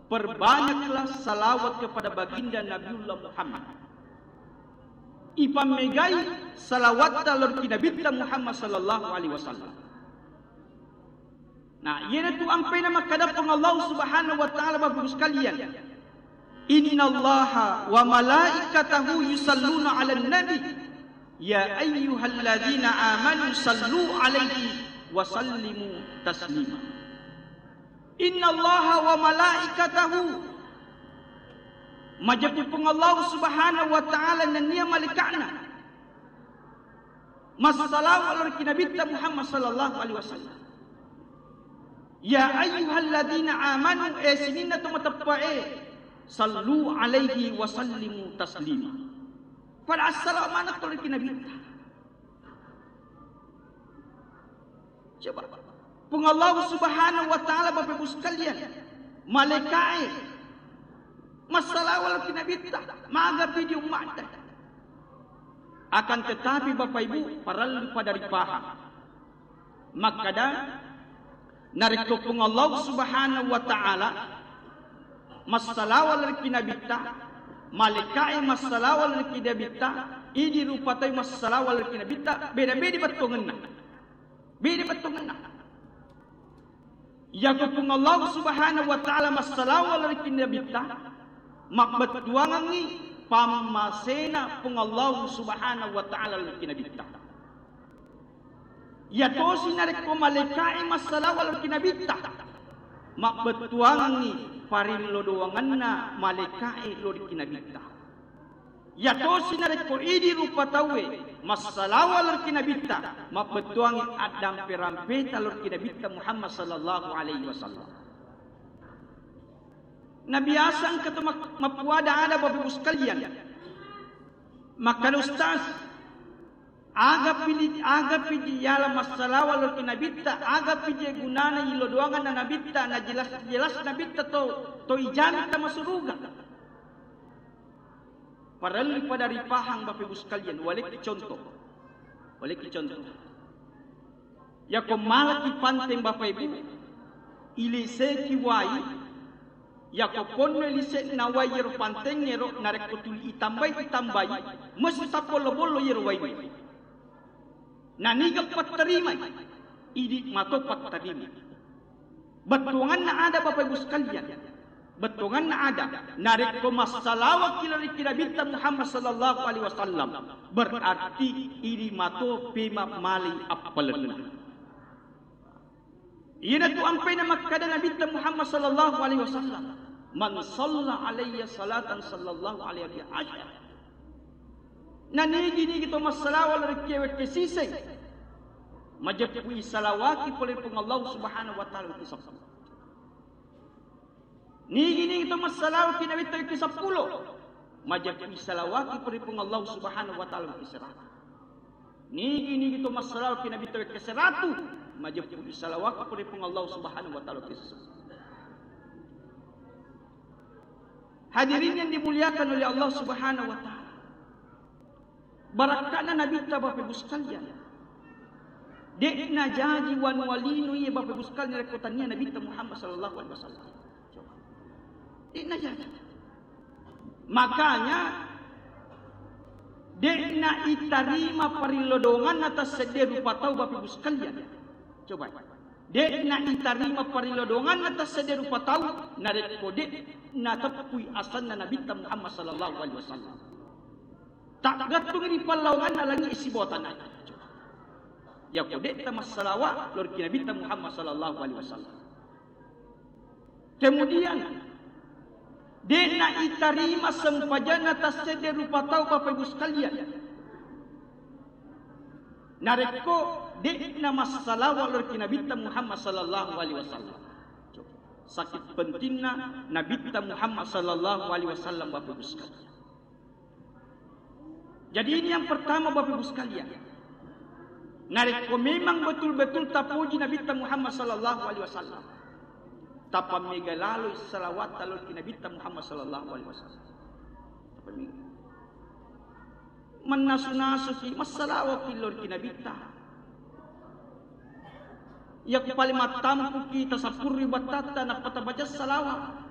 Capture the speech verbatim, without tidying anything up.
Perbanyaklah salawat kepada baginda Nabiullah Muhammad. Ipammegai salawatta lao ri Nabitta Muhammad sallallahu alaihi wasallam. Nah, iyanatu ampai namakkeda Puang Allah Subhanahu wa Ta'ala, Bapak Ibu sekalian. "Innallaha wa malaikatahu yusalluna 'alan nabi. Ya ayyuhalladzina amanu sallu 'alaihi wa sallimu taslima." "Innallaha wa malaikatahu." Majeppu Puang Allah Subhanahu wa Ta'ala nennia malaika'na massalawa lao ri Nabitta Muhammad sallallahu alaihi wasallam. "Ya ayyuhalladzina amanu," e sininna to mateppa'e, "sallu alaihi wa sallimu taslima." Pada assalawa maneng to lao ri Nabitta. Coba. Puang Allah Subhanahu wa Ta'ala, Bapak Ibu sekalian, malaika'e massalawa lao ri Nabitta, magapi di ummatta. Akan tetapi, Bapak Ibu, parellu pada ripahang. Makkeda, narekko Puang Allah Subhanahu wa Ta'ala massalawa lao ri Nabitta, malaika'e massalawa lao ri Nabitta, idi rupa tau massalawa lao ri Nabitta, beda-beda bettuangenna. Beda bettuangenna. Yako Puang Allah Subhanahu wa Ta'ala massalawa lao ri Nabitta, mabbettuangengngi pammasena Puang Allah Subhanahu wa Ta'ala lao ri Nabitta. Yatosi narekko malaika'e massalawa lao ri Nabitta, mabbettuangengngi parillo doangenna malaika'e lao ri Nabitta. Yatosi narekko idi rupa tauwe massalawa lao ri Nabitta, mabbettuangngi addampe-rampeta lao ri Nabitta Muhammad sallallahu alaihi wasallam. Nabiasa engka to mak-, mappuada-ada, Bapak Ibu sekalian. Makkeda, "Ustaz, aga pili-, aga piji yala massalawa lao ri Nabitta, aga piji gunana ilo doanganna Nabitta, na jelas-jelas Nabitta to, to ijanta masuruga." Parellu pada ripahang, Bapak Ibu sekalian, walekki contoh. Walekki contoh. Yako malaki panteng, Bapak Ibu, iliseki wai, yako ponno ilise'na wai yero pantengngero, narekko tuli itambai, itambai, mesti tapollo-bollo yero wai. Naniga patterimai, idi mato patterima. Bettuanganna ada, Bapak Ibu sekalian. Bettuanganna ada. Narekko massalawakki lao ri Nabitta Muhammad sallallahu alaihi wasallam, berarti idi mato pema mali appalenna. Iyanatu ampai namakkeda Nabitta Muhammad sallallahu alaihi wasallam, "Man shalla alayya salatan sallallahu alaihi biha asyara." Nanigi-nigi to massalawa lao ri wekke siseng, majeppui salawaki pole Puang Allah Subhanahu wa Ta'ala wekke seppulo. Nigi-nigi to massalawa ri Nabitta wekke seppulo, majeppui salawaki pole Puang Allah Subhanahu wa Ta'ala wekke seratu. Nigi-nigi to massalawa ri Nabitta wekke seratu, majeppui salawaki pole Puang Allah Subhanahu wa Ta'ala wekke seppulo. Hadirin yang dimuliakan oleh Allah Subhanahu wa Ta'ala. Barakka'na Nabitta, Bapak Ibu sekalian. De'na jaji wanuwa lino iya, Bapak Ibu sekalian, rekko tania Nabitta Muhammad sallallahu alaihi wasallam. Coba. De'na jaji. Makanya, de'na itarima parillo doanganna tasseddie rupa tau, Bapak Ibu sekalian. Coba. De'na itarima parillo doanganna tasseddie rupa tau, narekko de'na teppui asenna Nabitta Muhammad sallallahu alaihi wasallam. Taggattung ri pallawanganna langi sibawa tana. Yako de'ta massalawa lao ri Nabitta Muhammad sallallahu alaihi wasallam. Kemudian, de'na itarima sempajanna tasseddie rupa tau, Bapak Ibu sekalian. Narekko de'na massalawa lao ri Nabitta Muhammad sallallahu alaihi wasallam. Saking pentingna Nabitta Muhammad sallallahu alaihi wasallam, Bapak Ibu sekalian. Jadi, ini yang pertama, Bapak Ibu sekalian. Narekko memang betul-betul tapoji Nabitta Muhammad sallallahu alaihi wasallam, tapammega laloi salawatta lao ri Nabitta Muhammad sallallahu alaihi wasallam. Tapammega. Mannasu-nasuki, massalawaki lao ri Nabitta. Iya ku paling mattampuki, tasappurri battatta, nappa tabaca salawa.